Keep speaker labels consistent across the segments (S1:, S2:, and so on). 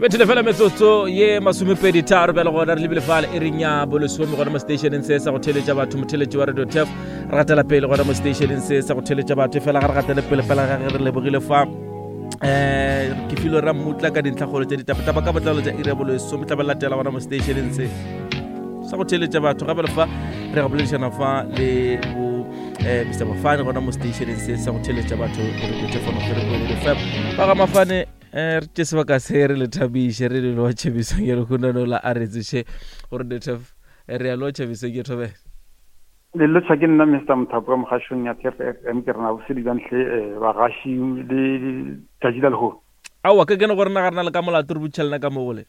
S1: Bethile fela metsotso ye masomepedi tharo bjale gona re lebile fale e reng ya bolesome gona mo stationeng se sa go theletša batho motheletši wa radio tef re gatela pele gona mo stationeng se sa go theletša batho fela ga re gatele pele fela ga ge re lebogile fa um ke filo ra mmutla ka dintlhakgolo tša ditapatapa ka botlalo tša iri ya bolesome tla ba latela gona mo stationeng se sa go theletša batho gape le fa re ga boledišana fa le bo um mr mafane gona mo stationeng se sa go theletša batho radio tef ono fm ba ga mafane um re tše sebaka se re le thabiše re le lotšhe mesong ya lehunono la a re tsoše gore detef re a lotšha mesong ke thobela
S2: le lotšha ke nna mr mothapo ka mogašong ya tf f m ke rena bosedi bja ntle eh, bagaši le tšatši la lehono
S1: aowa ke kene gore na ga rena le ka molato re butšha lena ka mogole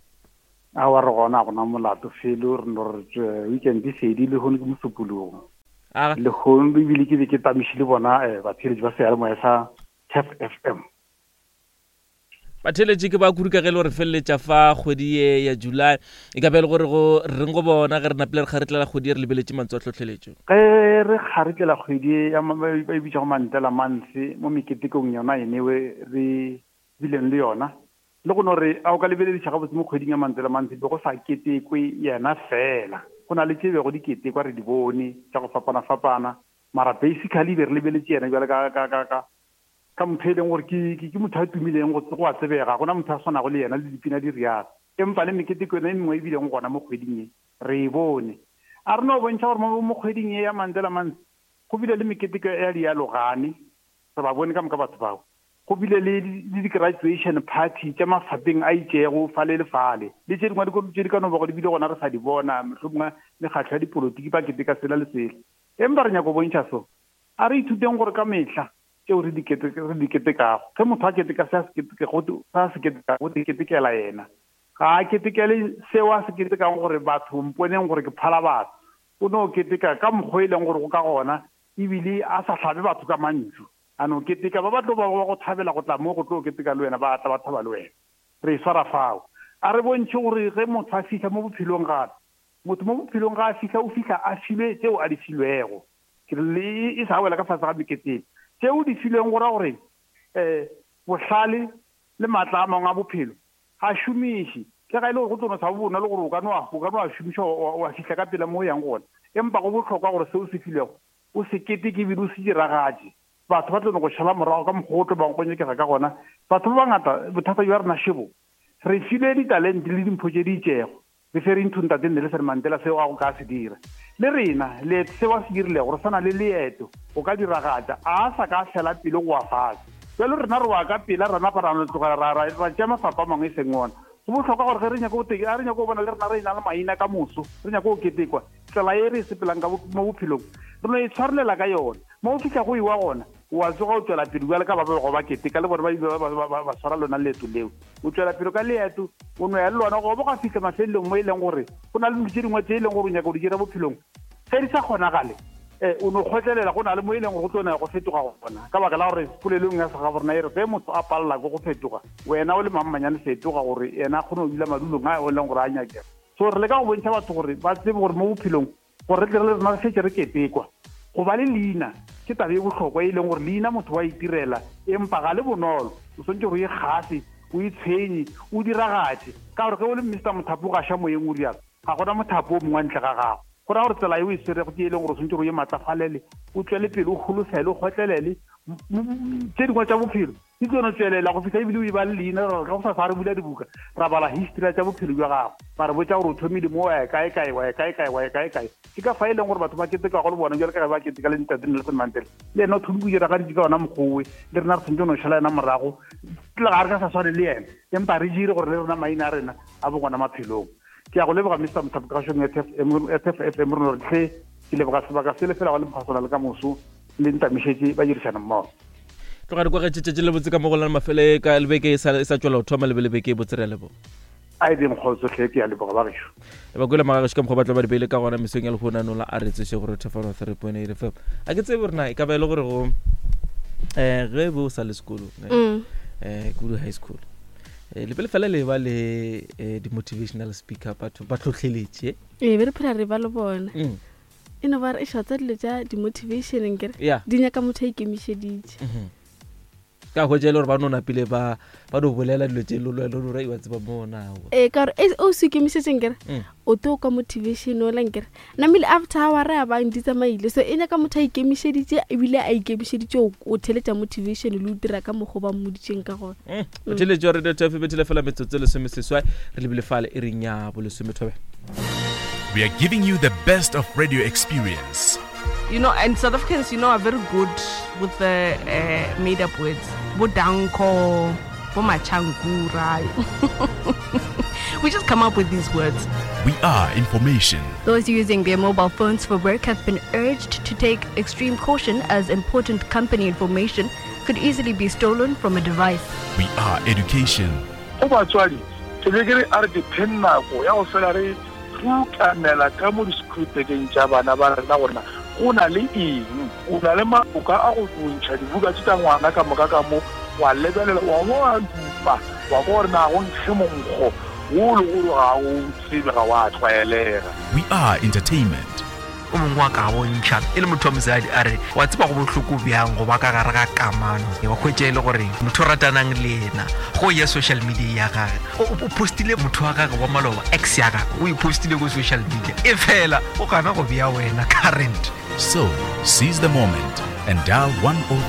S2: aowa re gona gona molato felo re no re eh, weekend e fedi lehono ke mosupologo lehono ebile ke be ke tamišile bona eh, batheeletši ba seyalemoya sa tf f m
S1: Batheeletši ke ba kudu ka ge e le gore feleletša fa kgwedi ye ya July e ka be e le gore go reng go bona ge re napile re kgaretlela kgwedi ye re lebeletše mantswe a tlhohleletšo.
S2: Ge re kgaretlela kgwedi ye ya ba e bitšago Mandela Month mo meketekong yona enewe re bileng le yona, le go no re a o ka lebelediša gabotse mo kgweding ya Mandela Month be go sa ketekwe yena fela, go na le tše bego di ketekwa re di bone tša go fapana-fapana, mara basically be re lebeletše yena bjale ka ka ka ka Ka motho e leng gore ke, ke, ke motho a tumileng, go, go a tsebega, ga go na motho a swanago le yena, le dipina di realo. Empa le meketeko yona e mengwe e bilego gona mo kgweding ye, re e bone. A re no bontšha gore mo, mo kgweding ye ya Mandela Month, go bile le meketeko ya dialogane, re ba bone ka moka batho bao. Go bile le, le di-graduation party tša mafapeng a itšego fale le fale, le tše dingwe tše di ka no bago di bile gona re sa di bona, mohlomongwe mekgatlo ya dipolotiki ba keteka sela le sela. Empa re nyaka go bontšha so. A re ithuteng gore ka mehla tšeo re di re di ketekago, ge motho a keteka se a se ketekago, se a se ketekago, o ketekela yena. Ga a ketekele seo a se ketekago gore batho mponeng gore ke phala batho. O no keteka ka mokgwa e leng gore go ka gona, ebile a sa hlabe batho ka mantšu. A no keteka, ba ba tlo bago ba go thabela go tla mo go tlo keteka le wena, ba tla ba thaba le wena. Re e swara fao. A re bontšhe gore ge motho a fihla mo bophelong gape, motho mo bophelong ga a fihla, o fihla a filwe tšeo a di filwego. Ke re le e sa wela ka fase ga meketeng. Tše o di filweng go ra gore um bohlale le maatla a mangwe a bophelo ga a šomiše. Le ga e le gore go tlo no sa bo bonolo gore o ka no a o ka no a šomiša wa fihla ka pela mo o yang gona, empa go bohlokwa gore se o se filwego o se keteke ebile o se diragatše. Batho ba tlo no go šala morago ka mokgwa o tlo bang go nyakega ka gona. Batho ba bangata bothata bja rena šebo, re filwe ditalente le dimpho tše di itšego. Referring to Ntate Nelson Mandela seo a go ka se dira. Le rena, leeto seo a se dirilego, re swana le leeto, go ka diragatša. A a sa ka a fela pelo go wa fase. Bjalo rena re wa ka pela, ra napa ra no tlogela, ra, ra, ra tšea mafapa a mangwe e seng ona. Go bohlokwa gore ge re nyaka go te, a re nyaka go bona le rena re e-na le maina ka moso, re nyaka go ketekwa, tsela ye re e sepelang ka mo bophelong, re no e tshwarelela ka yona. Mo o fihla go ewa gona, o a tsoga o tšwela pele bjale ka ba bego ba keteka le bone ba ile ba swara lona leeto leo. O tšwela pele ka leeto, o no ya le lona go bo ga fihla mafelelong mo e leng gore go na le dilo tše dingwe tše e leng gore o nyaka go di dira bophelong. Ge di sa kgonagale, eh, o no kgotlelela go na le mo e leng gore go tlo na go fetoga gona. Ka baka la gore polelong ya segaborena e re ge motho a palela ke go fetoga, wena o le mammanyane fetoga gore yena a kgone go dula madulong a e leng gore a nyakega. So re leka go bontšha batho gore ba tsebe gore mo bophelong Gore re tle re le rena re šetše re ketekwa. Go ba le leina ke taba e bohlokwa e leng gore leina motho wa itirela empa ga le bonolo. O swanetše gore o ikgafe, o itshwenye, o diragatše. Ka gore ge o le Mister Mothapo o gaša moyeng o rialo, ga gona mothapo o mongwe ntle ga gago. Go raya gore tsela ye o e swerego ke e leng gore o swanetše gore o ye matlafalele, o tšwele pele, o holofele, o kgotlelele. Tše dingwe tša bophelo di tlo no tšwelela go fihla ebile o e ba le leina ra go sa sa re bula dibuka ra bala history ya tša bophelo bja gago ba re botša gore o thomile mo wa ya kae kae wa ya kae kae wa ya kae kae. Ke ka fa e leng gore batho ba ketekago le bona bjale ka ge ba keteka le ntate Nelson Mandela le yena o thomile go diragaditše ka ona mokgowe le rena re tshwanetse no šala yena morago le ga re ka sa swane le yena empa re dire gore le rena maina a rena a bo gona maphelong. Ke ya go leboga Mister Mothapo Kgašong ya TF FM re no re tlhe ke leboga sebaka se le fela go le mokgwa le ka moso le ntamišetše ba dirišana mmogo.
S1: Tloga re kwagetše tšatši le botse ka mo go lana mafele ka lebeke e sa e sa tšwela go thoma le be lebeke e botse re a leboga.
S2: A e beng kgotso hle ke a leboga ba gešo.
S1: E ba kwele magagešo ka mokgwa ba tlo ba di beile ka gona mesong ya lehono nola a re tsoše gore thefano 3.8 FM. A ke tsebe gore na e ka ba e le gore go eh ge be o sa le sekolong eh, mm. eh kudu high school eh, le pele fela le ba le eh, di-motivational speaker batho ba tlhotlheletše
S3: ee be re phela re ba le bona mm. E no ba re e šatsa dilo tša di-motivation nkere yeah. di nyaka motho a ikemišeditše mm -hmm.
S1: Ka hwetša e le gore ba no napile ba ba no bolela dilo tše lolwelo lora iwa tseba mona.
S3: Ee, ka gore o se ikemišetšeng kere mm. o to ka motivation ola nkere namile after hour a bang di tsamaile so e nyaka motho a ikemišeditše ebile a ikemišeditše o theletša motivation le o dira ka mokgwa ba mmoditšeng ka gona
S1: mm. o theletše wa radio tf bethile fela metsotso lesomeseswai re lebile fale e reng ya bolesomethobe.
S4: We are giving you the best of radio experience.
S5: And South Africans, are very good with the made up words. Bo danko, bo machankura. We just come up with these words.
S4: We are information.
S6: Those using their mobile phones for work have been urged to take extreme caution as important company information could easily be stolen from a device.
S4: We are education.
S7: Go batswadi, ke be ke re a re dipheng nako ya go fela re rutamela ka mo disekhuritekeng tša bana ba rena gore na go na le eng. O na le maloka a go ntšha dibuka tše tša ngwana ka moka ka mo, wa lebelela, wa bo wa dupa, wa kwa gore na go nkge monkgo wo le gore ga o tsebe, ga wa tlwaelega.
S4: We are entertainment.
S8: O mongwe wa ka bontšha e le motho wa mosadi a re, Wa tseba go bohloko bjang go ba ka gare ga kamano, wa hwetša e le gore motho o ratanang le yena go ya social media ya gage o postile motho wa gage wa maloba, ex ya gage o e postile ko social media, e fela o gana go bea wena current.
S4: So, seize the moment and dial 103.